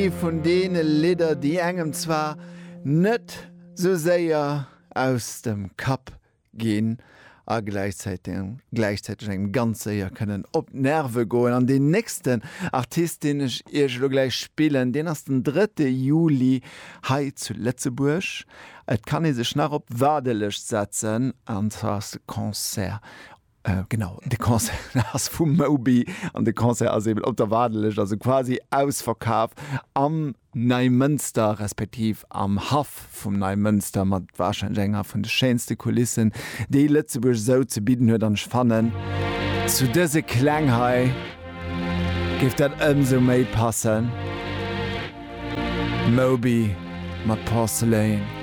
Ee vun deene Lidder, déi engem zwar net sou séier aus dem Kapp ginn a gläichzäiteg engem ganz séier kënnen op d'Nerve goen. An deen nächsten Artist, deen ech iech elo gläich spillen, deen ass den drëtte Juli hei zu Lëtzebuerg. Et kann ee sech nach op d'Waardelëscht setzen, an zwar ass de Concert Genau, de Concert ass vum Moby an de Concert ass eben op der Waardelëscht, also quasi ausverkaf am Neimënster, respektiv am Haff vum Neimënster, mat warscheinlech enger vun de schéinste Kulissen, déi Lëtzebuerg esou ze bidden huet. An ech fannen, zu dëse Kläng hei géif dat ëmsou méi passen. Moby mat Porcelain.